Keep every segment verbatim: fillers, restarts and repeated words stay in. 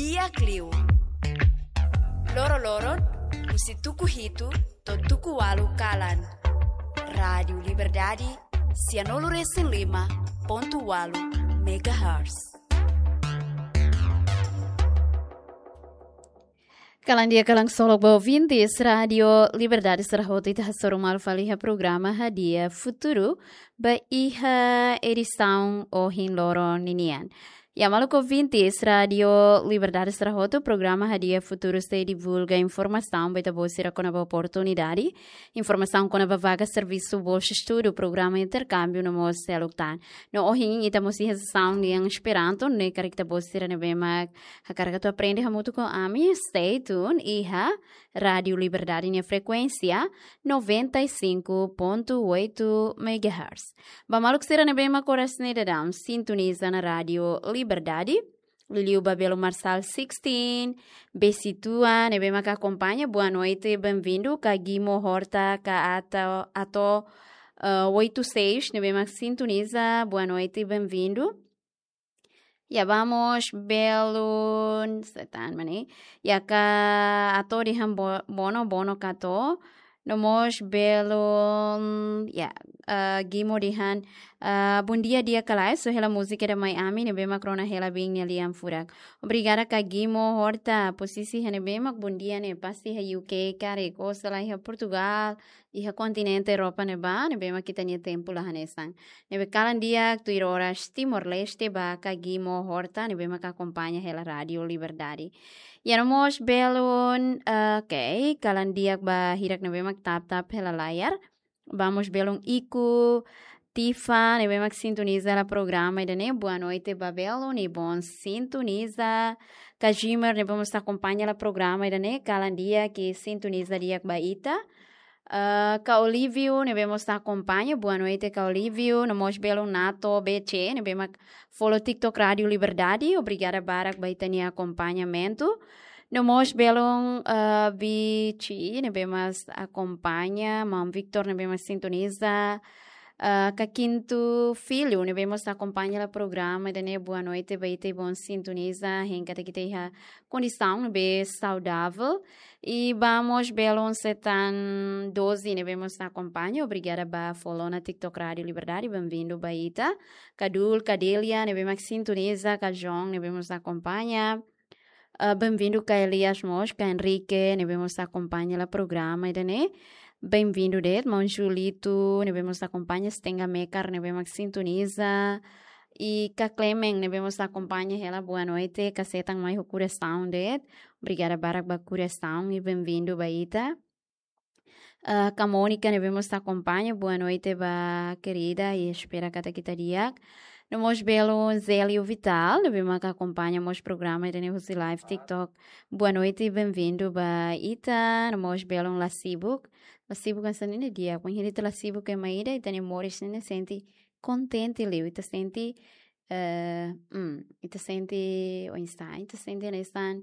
Di'ak liu. Loroloron, husi tuku hitu to'o tuku ualu kalan. Rádiu Liberdade, sianulu-resin-lima pontu ualu megahertz. Kalan di'ak, kalan solok ba ouvintes Rádiu Liberdade sira hotu, ita hasoru malu fali iha programa Hadi'a Futuru ba iha edisaun ohin loron ninian. Ya, maluk ouvintes Rádiu Liberdade sira hotu, programa Hadi'a Futuru sei divulga informasaun ba ita-boot sira kona-ba oportunidade, informasaun kona-ba vaga servisu, bolsa estudu, programa interkámbiu no mós seluk tan. No ohin ita mós iha sesaun nian Esperanto, ne'e karik ita-boot sira ne'ebé mak hakarak atu aprende hamutuk ho ami, stay tune iha Rádiu Liberdade nia frekuénsia noventa e cinco ponto oito megahertz. Ba maluk sira ne'ebé mak oras ne'e daudaun sintoniza ona Rádiu Liberdade, liuliu ba Belo Marçal sixteen, Besituan, ne'ebé mak akompaña, boa noite, bem-vindo. Ka Gimo Horta, ka Ato, Ato, eh, oito seis, ne'ebé mak sintoniza, boa noite, bem-vindo. Ya, vamos belun, setan mani. Ya, ka Ato dehan bo-, bono, bono ka Ato. No mós belun, ya, eh, Gimo dehan, eh, bom dia, di'ak ka lae, só hela múzika ida mai ami, ne'ebé mak rona hela biin nia lian furak. Obrigada ka Gimo Horta, posisi iha ne'ebé mak bom dia ne'e, pasti iha U K karik, ou sei la iha Portugal, iha kontinente Europa ne'ebá, ne'ebé mak ita-nia tempu la hanesan. Ne'ebé kalan di'ak tuir oras Timor-Leste ba ka Gimo Horta, ne'ebé mak akompaña hela Rádiu Liberdade. Ya, no mós belun, eh, ok, kalan di'ak ba hirak ne'ebé mak tap-tap hela layar. Vamos belun Iku Tifa, ne'ebé mak sintoniza hela programa ida-ne'e, boa noite ba belun, i bon sintoniza. Ka Jimer, ne'ebé mós akompaña hela programa ida-ne'e, kalan di'ak i sintoniza di'ak ba ita. Ah, ka Olívio, ne'ebé mós akompaña, boa noite, ka Olívio. No mós belun Nato B C, ne'ebé mak follow TikTok Rádiu Liberdade, obrigada barak ba ita-nia akompañamentu. No mós belun, ah, Bichi, ne'ebé mós akompaña, Maun Victor, ne'ebé mós sintoniza. Ah, ka Kintu Filho, ne'ebé mós akompaña hela programa ida-ne'e, boa noite ba ita i bon sintoniza, hein katak ita iha kondisaun ne'ebé saudável. I vamos belun setan doze, ne'ebé mós akompaña, obrigada ba follow ona TikTok Rádiu Liberdade, bem-vindo ba ita. Ka Dul, ka Delia, ne'ebé mak sintoniza, ka João, ne'ebé mós akompaña. Ah, bem-vindo ka Elias mós, ka Henrique, ne'ebé mós akompaña hela programa ida-ne'e. Bem-vindo de'it, Maun Julito, ne'ebé mós akompaña, Stenga Mekar, ne'ebé mak sintoniza. I ka Clemen, ne'ebé mós akompaña hela, boa noite, ka setan mai ho korasaun de'it. Obrigada barak ba korasaun i bem-vindo ba ita. Ah, ka Mónica, ne'ebé mós akompaña, boa noite ba querida, i espera katak ita di'ak. No mós belun Zélio Vital, ne'ebé mak akompaña mós programa ida-ne'e husi live TikTok. Boa noite, bem-vindo ba ita. No mós belun La Sibuk. La Sibuk hanesan ne'e di'ak, wainhira ita la sibuk ema ida, ita-nia moris ne'e sente kontente liu, ita sente, eh, mm, ita sente, oinsá, ita sente hanesan,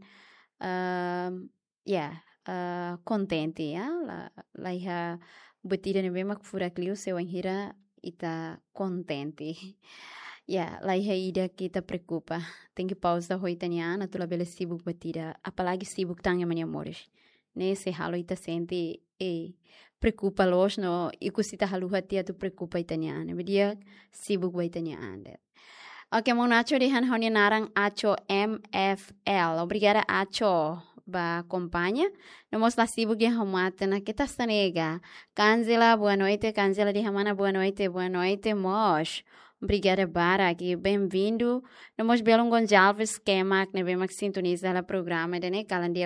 ehm, ya, eh, kontente, ya, la, la iha buat ida ne'ebé mak furak liu se wainhira ita kontente. Ya, la iha ida ke ita preokupa. Tenke pauza ho ita-nia an, atu labele sibuk buat ida, apalagi sibuk tan ema nia moris. Ne'e sei halo ita sente, eh, preokupa loos no ikus ita haluha tiha atu preokupa ita-nia an. Ne'ebé di'ak sibuk ba ita-nia an de'it. Ok, Maun Acho dehan ha'u-nia naran Acho M F L. Obrigada, Acho, ba akompaña. No mós La Sibuk dehan ha'u mate ona, keta sa nega. Ka Angela, boa noite. Ka Angela dehan mana, boa noite, boa noite mós. Obrigada barak i bem-vindo. No mós belun Gonçalves Kemak, ne'ebé mak sintoniza hela programa ida-ne'e, kalan di'ak